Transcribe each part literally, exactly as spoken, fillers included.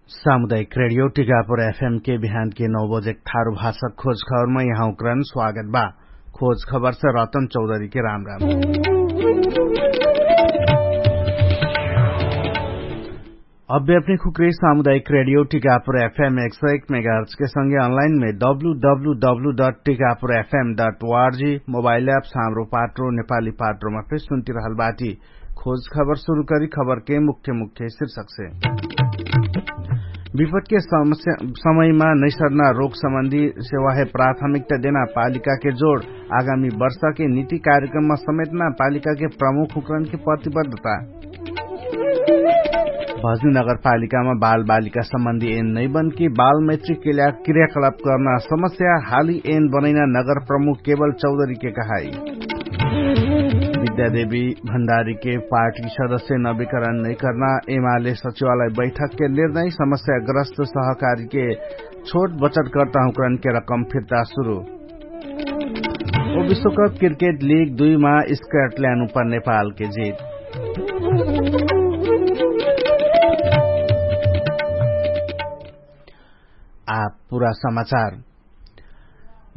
सामुदायिक रेडियो टिकापुर एफएम के बिहान के नौ बजे थारु भाषा खोज खबरमा यहाँ उक्रन स्वागत बा। खोज खबर से रतन चौधरी के राम राम। अभ्यापनी खुक्री सामुदायिक रेडियो टिकापुर एफएम एक सौ एक मेगाहर्च के संगे अनलाइन में W W W dot Tikapur FM dot ORG mobile app Hamro Patro Nepali पाटरोमा फेर सुन्ति रहल बाटी। खोज खबर सुरु करी खबर के मुख्य मुख्य शीर्षक से। विपट के समयमा नैसर्ना रोग सम्बन्धी सेवा है प्राथमिकता देना पालिका के जोड। आगामी वर्ष के निति कार्यक्रममा समेटना पालिका के प्रमुख हुक्रन के प्रतिबद्धता। भजनी नगरपालिकामा बालबालिका सम्बन्धी एन नैबन कि बालमैत्री के ल्या क्रियाकलाप कर्ना समस्या हाली एन बनैना नगर प्रमुख केवल चौधरी के कहाई। विद्यादेवी भण्डारी के पार्टी सदस्य नवीकरण नैकर्ना एमाले सचिवालय बैठक के निर्णय समस्या ग्रस्त सहकारी के छोट बचत कर्ता हुक्रन के रकम फिर्ता सुरु। ओ विश्वकप क्रिकेट लिग दुई मा स्कटल्याण्ड उपर नेपाल के जित। आ पुरा समाचार।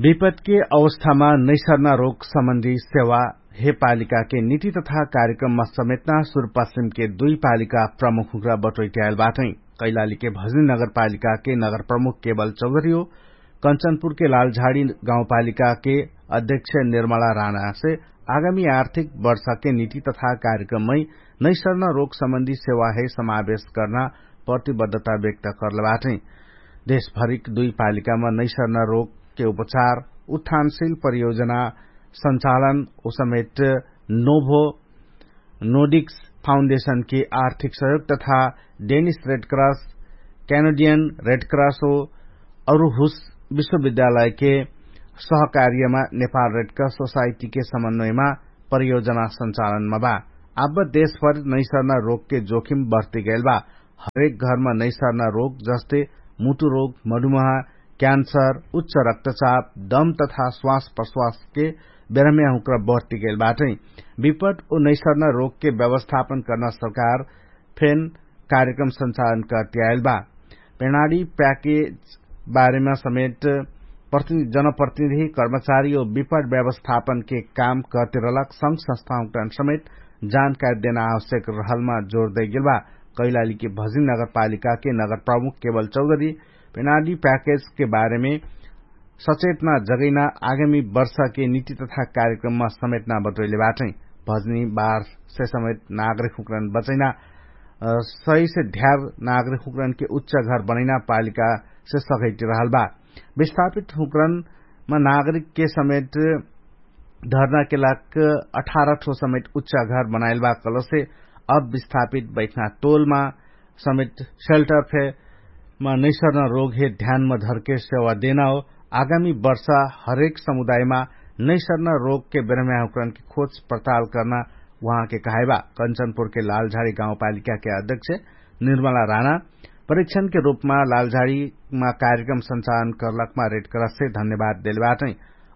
विपत के अवस्थामा नैसर्ना रोग सम्बन्धी सेवा हे पालिका के निति तथा कार्यक्रममा समेटना सुरपश्चिम के दुई पालिका प्रमुख हुक्रा बटोइट्याएल बाटै। कैलाली के भजनी नगरपालिका के नगर प्रमुख केवल चौधरी हो कञ्चनपुर के लालझाडी गाउँपालिका के अध्यक्ष निर्मला राना से आगामी आर्थिक वर्ष के निति तथा कार्यक्रममै नैसर्ना रोग सम्बन्धी सेवा है समावेश कर्ना प्रतिबद्धता व्यक्त कर्ल बाटै। देशभरिक दुई पालिकामा नैसर्ना रोग के उपचार उत्थानशील परियोजना सञ्चालन उसमेट नोभो नोडिक्स फाउन्डेशनके आर्थिक सहयोग तथा डेनिस रेडक्रस क्यानोडियन रेडक्रस हो अरुहुस विश्वविद्यालयके सहकार्यमा नेपाल रेडक्रस सोसाइटीके समन्वयमा परियोजना सञ्चालनमा बा। आब देशभर नैसर्ना रोगके जोखिम बढ्तिगैल बा। हरेक घरमा नैसर्ना रोग जस्ते मुटु रोग मधुमहा क्यान्सर उच्च रक्तचाप दम तथा स्वास प्रश्वासके बेरहम्या हुक्र बढ्तिगैल बाटै। विपट ओ नैसर्ना रोगके व्यवस्थापन कर्ना सरकार फेन कार्यक्रम सञ्चालन कर्तियाएल बा। पेणाडी प्याकेज बारेमा समेट जनप्रतिनिधि कर्मचारी ओ विपट व्यवस्थापनके काम कर्तिरलक संग संस्था हुक्रान समेट जानकारी देना आवश्यक रहलमा जोर दैगेल बा। कैलालीके भजिन नगरपालिकाके नगर प्रमुख केवल चौधरी पेणाडी प्याकेजके बारेमे सचेतना जगैना आगामी वर्षके निति तथा कार्यक्रममा समेटना बटोइले बाटै। भजनी बारसे समेट नागरिक हुक्रन बचैना सही से ध्यार नागरिक हुक्रनके उच्च घर बनैना पालिकासे सघैटी रहल बा। विस्थापित हुक्रनमा नागरिकके समेट धर्नाके लाग अठार ठो समेट उच्च घर बनाइल बा कलसे अब विस्थापित बैठना तोलमा समेट सेल्टर फे मा नैसर्ना रोग हे ध्यानमा धरके सेवा देना हो। आगामी वर्षा हरेक समुदायमा नैसर्ना रोगके बेरम्याहुक्रनके खोज प्रताल कर्ना उहाँके कहाइबा। कञ्चनपुरके लालझाडी गाउँपालिकाके अध्यक्ष निर्मला राना परीक्षणके रूपमा लालझाडीमा कार्यक्रम सञ्चालन कर्लकमा रेडक्रससे धन्यवाद देलबाटै।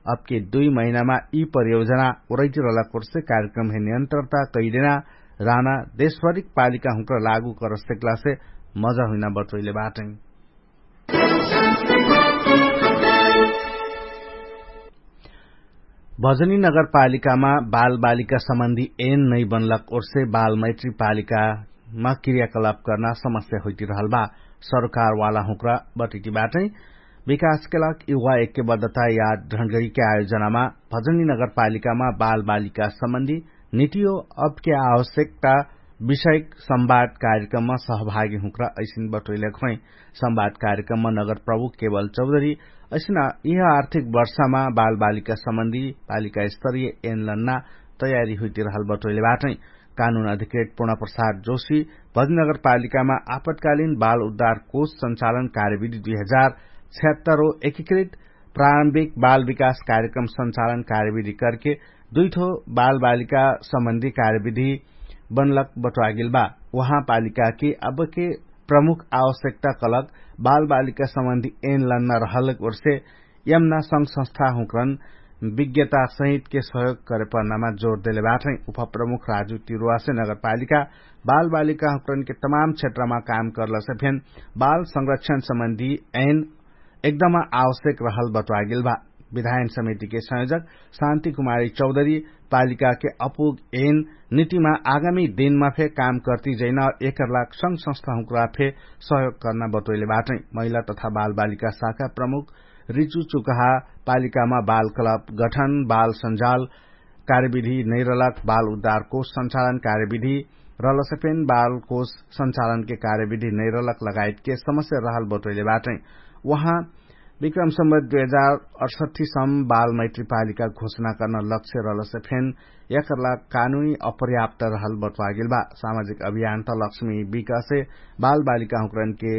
अबके दुई महिनामा यि परियोजना उरैतिरलक ओर्से कार्यक्रमहे नियन्त्रता कैदेना राना देशभरिक पालिका हुँक्र लागू करसेक्लासे मजा हुइना बटोइले बाटै। भजनी नगरपालिकामा बालबालिका सम्बन्धी एन नै बनलक ओर्से बालमैत्री पालिकामा क्रियाकलाप कर्ना समस्या होइतिरहल बा। सरकारवाला हुँक्रा बटैति बाटै विकासके लाग युवा एक्के बद्धता याद ढण्डगरीके आयोजनामा भजनी नगरपालिकामा बालबालिका सम्बन्धी निटियो अबके आवश्यकता विषयक संवाद कार्यक्रममा सहभागी हुँक्रा ऐसिन बटोइलक होइ। संवाद कार्यक्रममा नगर प्रभु केवल चौधरी ऐसिन यिह आर्थिक वर्षामा बालबालिका सम्बन्धी पालिका स्तरीय एनलन्ना तयारी हुइतिरहल बटोइले बाटै। कानुन अधिकृत पुर्णा प्रसाद जोशी भजनी नगरपालिकामा आपतकालीन बाल उद्धार कोष सञ्चालन कार्यविधि दुई हजार छ्यात्तर हो एकीकृत प्रारम्भिक बाल विकास कार्यक्रम सञ्चालन कार्यविधि करके दुइठो बालबालिका सम्बन्धी कार्यविधि बनलक बटोआगेल बा। उहाँ पालिकाके अबके प्रमुख आवश्यकता कलक बालबालिका सम्बन्धी एन लन्ना रहलक ओर्से यमना संग संस्था हुँक्रन विज्ञता सहितके सहयोग करेपर्नामा जोर देले बाटै। उपप्रमुख राजु तिरुवासे नगरपालिका बालबालिकाहुँकरनके तमाम क्षेत्रमा काम करलसे फेन बाल संरक्षण सम्बन्धी ऐन एकदम आवश्यक रहल बतुवागेल बा। विधायन समितिके संयोजक शान्तिकुमारी चौधरी पालिकाके अपुग ऐन नितिमा आगामी दिनमा फे काम कर्ति जैना एकर लाग संग संस्थाहुँकरा फे सहयोग कर्ना बतोइले बाटै। महिला तथा बालबालिका शाखा प्रमुख रिचु चुकहा पालिकामा बालकलब गठन बाल सञ्जाल कार्यविधि नैरलक बाल उद्धारको सञ्चालन कार्यविधि रलसफेन बालकोष सञ्चालनके कार्यविधि नैरलक लगायतके समस्या रहल बतोइले बाटै। उहाँ विक्रम सम्बत दुई हजार अठसट्ठी सम्म बाल मैत्रीपालिका घोषणा कर्न लक्ष्य रहलसफेन एकरला कानुनी अपर्याप्त रहल बतुवागेल बा। सामाजिक अभियान त लक्ष्मी विकासे बालबालिकाहुँकरनके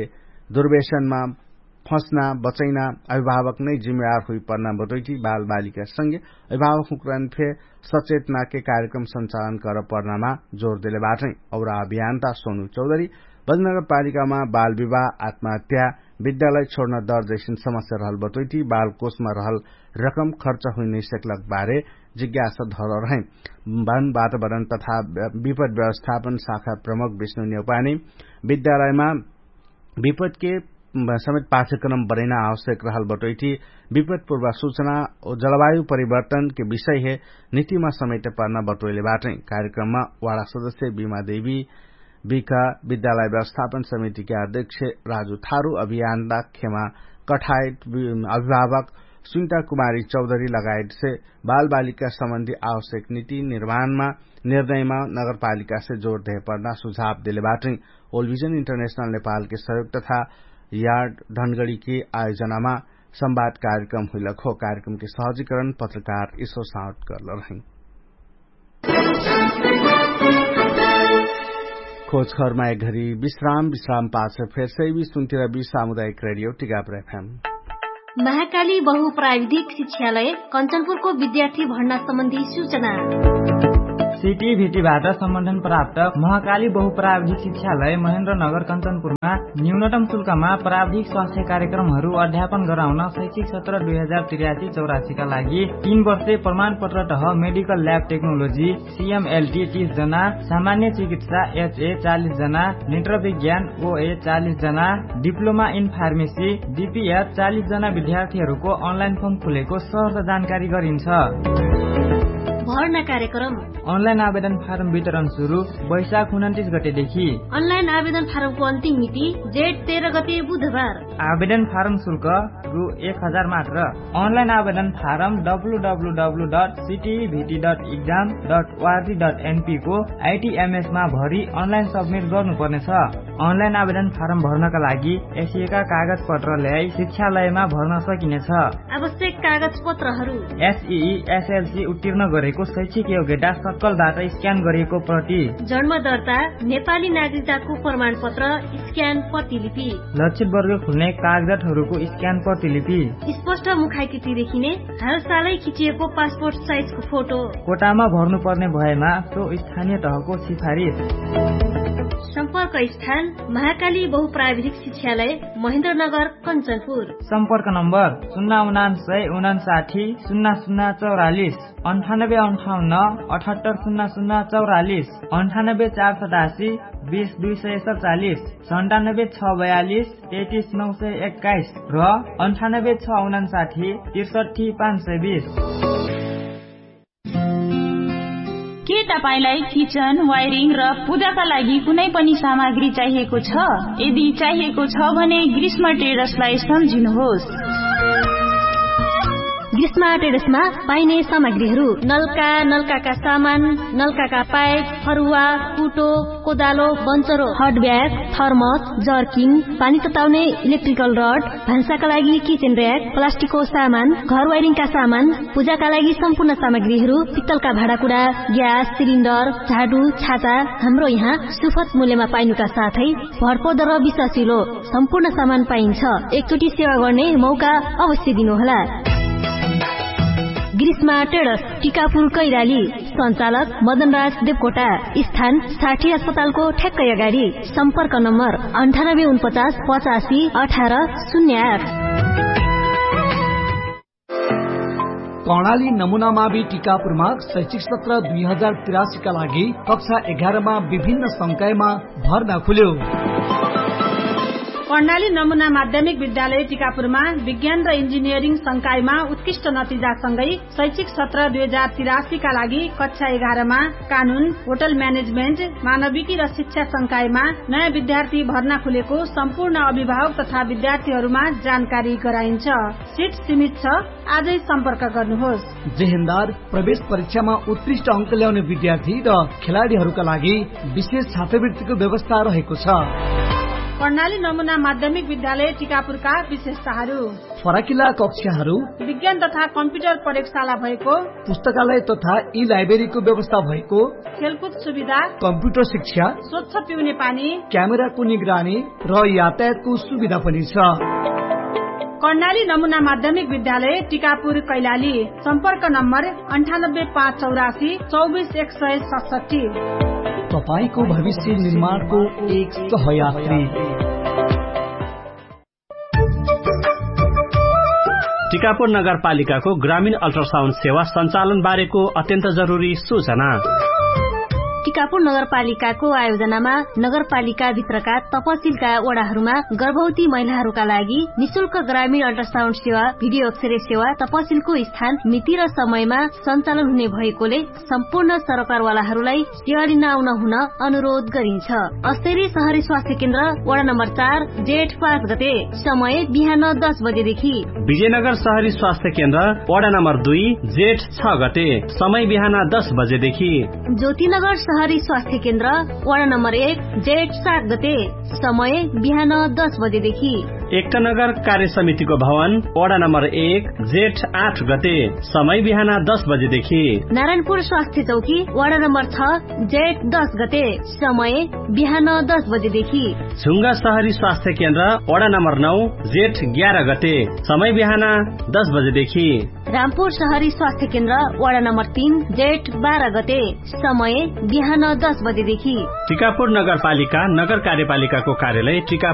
दुर्वेशनमा फस्ना बचैना अभिभावक नै जिम्मेवार हुइपर्ना बतोइटी बालबालिका संगे अभिभावकहुँकरन फे सचेतनाके कार्यक्रम सञ्चालन करपर्नामा जोर देले बाटै। और अभियान त सोनु चौधरी बजनगरपालिकामा बालविवाह आत्महत्या विद्यालय छोड्न दर जैसिन समस्या रहल बतोइटी बालकोषमा रहल रकम खर्च हुइनैसक्लक बारे जिज्ञासा धरल रहै। वन वातावरण तथा विपद व्यवस्थापन शाखा प्रमुख विष्णु नेउपानी विद्यालयमा विपदके समेत पाठ्यक्रम बनैना आवश्यक रहल बटोइटी विपदपूर्व सूचना जलवायु परिवर्तनके विषय हे नितिमा समेत पर्ना बटोइले बाटै। कार्यक्रममा वाडा सदस्य बिमा देवी विका विद्यालय व्यवस्थापन समितिके अध्यक्ष राजु थारु अभियानदा खेमा कठायत अभिभावक सुनिता कुमारी चौधरी लगायतसे बालबालिका सम्बन्धी आवश्यक निति निर्माणमा निर्णयमा नगरपालिकासे जोर देहपर्ना सुझाव देले बाटै। ओलभिजन इन्टरनेशनल नेपालके सहयोग तथा यार्ड ढनगडीके आयोजनामा संवाद कार्यक्रम हुइलक हो। कार्यक्रमके सहजीकरण पत्रकार इसो साउट गर्ल रहै। खोजखरमा एक घरी विश्राम विश्राम पाछ फेर सैवी सुन्तिर बि सामुदायिक रेडियो टिकापुर एफएम। महाकाली बहु प्राविधिक शिक्षालय कञ्चनपुरको विद्यार्थी भर्ना सम्बन्धी सूचना। सिटी भिटी भाटा सम्बन्धन प्राप्त महाकाली बहु प्राविधिक शिक्षालय महेन्द्र नगर कञ्चनपुरमा न्यूनतम शुल्कमा प्राविधिक स्वास्थ्य कार्यक्रमहरू अध्यापन गराउन शैक्षिक सत्र दुई हजार त्रियासी चौरासीका लागि तीन वर्षे प्रमाणपत्र तह मेडिकल ल्याब टेक्नोलोजी सिएमएलटी तीस जना, सामान्य चिकित्सा एचए चालिस जना, नेत्र विज्ञान ओए चालिस जना, डिप्लोमा इन फार्मेसी डिपिएच चालिस जना विद्यार्थीहरूको अनलाइन फर्म खुलेको सहर्ष जानकारी गरिन्छ। भर्ना कार्यक्रम। अनलाइन आवेदन फारम वितरण सुरु वैशाख उनन्तिस गतेदेखि। अनलाइन आवेदन फारमको अन्तिम मिति जेठ तेह्र गते बुधबार। आवेदन फारम शुल्क रु एक हजार मात्र। अनलाइन आवेदन फारम डब्लुडब्लुडब्लु डट सिटिभिटी डट इक्जाम डट ओआरजी डट एनपीको आइटिएमएसमा भरि अनलाइन सब्मिट गर्नुपर्नेछ। अनलाइन आवेदन फारम भर्नका लागि एसिएका कागजपत्र ल्याई शिक्षालयमा भर्न सकिनेछ। आवश्यक कागजपत्रहरू। एसई एसएलसी उत्तीर्ण गरेको शैक्षिक योग्यता सक्कलबाट स्क्यान गरिएको प्रति। जन्म दर्ता, नेपाली नागरिकताको प्रमाणपत्र स्क्यान प्रतिलिपि। लक्षित वर्ग खुल्ने कागजातहरूको स्क्यान प्रतिलिपि। स्पष्ट मुखाकृति देखिने हालसालै खिचिएको पासपोर्ट साइजको फोटो। कोटामा भर्नुपर्ने भएमा सो स्थानीय तहको सिफारिस। सम्पर्क स्थान महाकाली बहुप्राविधिक शिक्षालय महेन्द्रनगर कञ्चनपुर। सम्पर्क नम्बर सुन्ना उनान्सय उनान्साठी सुन्ना सुन्ना चौरालिस। अन्ठानब्बे अन्ठाउन्न अठहत्तर सुन्ना सुन्ना चौरालिस। अन्ठानब्बे चार सतासी बिस दुई सय सतचालिस। सन्तानब्बे छ बयालिस तेतिस नौ सय एक्काइस र अन्ठानब्बे छ उनान्साठी त्रिसठी पाँच सय बिस। के तपाईंलाई किचन वायरिङ र पूजाका लागि कुनै पनि सामग्री चाहिएको छ? यदि चाहिएको छ भने ग्रीष्म ट्रेडर्सलाई सम्झिनुहोस्। ग्रीष्म ट्रेडर्समा पाइने सामग्रीहरू नल्का नल्काका सामान, नल्काका पाइप, फरुवा, कुटो, कोदालो, बन्चरो, हट ब्याग, थर्मस, जर्किन, पानी तताउने इलेक्ट्रिकल रड, भान्साका लागि किचेन र्याक, प्लास्टिकको सामान, घर वाइरिङका सामान, पूजाका लागि सम्पूर्ण सामग्रीहरू, पित्तलका भाँडाकुडा, ग्यास सिलिन्डर, झाडु, छाता, हाम्रो यहाँ सुफत मूल्यमा पाइनुका साथै भरपर्दो र विश्वासिलो सम्पूर्ण सामान पाइन्छ। एकचोटि सेवा गर्ने मौका अवश्य दिनुहोला। ग्रीष्मा ट्रेडर्स, टिकापुर कैराली। सञ्चालक मदनराज देवकोटा। स्थान साठी अस्पतालको ठ्याक्कै अगाडि। सम्पर्क नम्बर अन्ठानब्बे उनपचास पचासी अठार शून्य आठ। कर्णाली नमुनामा बि टिकापुरमा शैक्षिक सत्र दुई हजार तिरासीका लागि कक्षा एघारमा विभिन्न संकायमा भर्ना खुल्यो। कर्णाली नमुना माध्यमिक विद्यालय टिकापुरमा विज्ञान र इन्जिनियरिङ संकायमा उत्कृष्ट नतिजासँगै शैक्षिक सत्र दुई हजार तिरासीका लागि कक्षा एघारमा कानुन, होटल म्यानेजमेन्ट, मानविकी र शिक्षा संकायमा नयाँ विद्यार्थी भर्ना खुलेको सम्पूर्ण अभिभावक तथा विद्यार्थीहरूमा जानकारी गराइन्छ। सिट सीमित छ। आजै सम्पर्क गर्नुहोस्। जेहेन्दार प्रवेश परीक्षामा उत्कृष्ट अङ्क ल्याउने विद्यार्थी र खेलाडीहरूका लागि विशेष छात्रवृत्तिको व्यवस्था रहेको छ। कर्णाली नमुना माध्यमिक विद्यालय टिकापुरका विशेषताहरू। फराकिला कक्षाहरू। विज्ञान तथा कम्प्युटर प्रयोगशाला भएको। पुस्तकालय तथा ई लाइब्रेरीको व्यवस्था भएको। खेलकुद सुविधा। कम्प्युटर शिक्षा। स्वच्छ पिउने पानी। क्यामेराको निगरानी र यातायातको सुविधा पनि छ। कर्णाली नमुना माध्यमिक विद्यालय टिकापुर कैलाली। सम्पर्क नम्बर अन्ठानब्बे पाँच चौरासी चौबिस एक सय सतसट्ठी। तपाईंको भविष्य निर्माणको एक सहयात्री। टिकापुर नगरपालिकाको ग्रामीण अल्ट्रासाउन्ड सेवा सञ्चालन बारेको अत्यन्त जरुरी सूचना। टिकापुर नगरपालिकाको आयोजनामा नगरपालिकाभित्रका तपसिलका वडाहरूमा गर्भवती महिलाहरूका लागि निशुल्क ग्रामीण अल्ट्रासाउन्ड सेवा, भिडियो अक्षरे सेवा, तपसिलको स्थान, मिति र समयमा सञ्चालन हुने भएकोले सम्पूर्ण सरकारवालाहरूलाई सेवा लिन आउन हुन अनुरोध गरिन्छ। अस्तरी सहरी स्वास्थ्य केन्द्र वडा नम्बर चार जेठ पाँच गते, समय बिहान दस बजेदेखि। विजयनगर सहरी स्वास्थ्य केन्द्र वडा नम्बर दुई जेठ छ गते, समय बिहान दस बजेदेखि। ज्योतिनगर सहरी स्वास्थ्य केन्द्र वडा नम्बर एक जेठ सात गते, समय बिहान दस बजेदेखि। एकनगर कार्य समितिको भवन वडा नम्बर एक जेठ आठ गते, समय बिहान दस बजेदेखि। नारायणपुर स्वास्थ्य चौकी वडा नम्बर छ जेठ दस गते, समय बिहान दस बजेदेखि। झुङ्गा सहरी स्वास्थ्य केन्द्र वडा नम्बर नौ जेठ ग्यार गते, समय बिहान दस बजेदेखि। रामपुर सहरी स्वास्थ्य केन्द्र वडा नम्बर तीन जेठ बार गते, समय बिहान दस बजेदेखि। टिकापुर नगरपालिका नगर कार्यपालिकाको कार्यालय टिका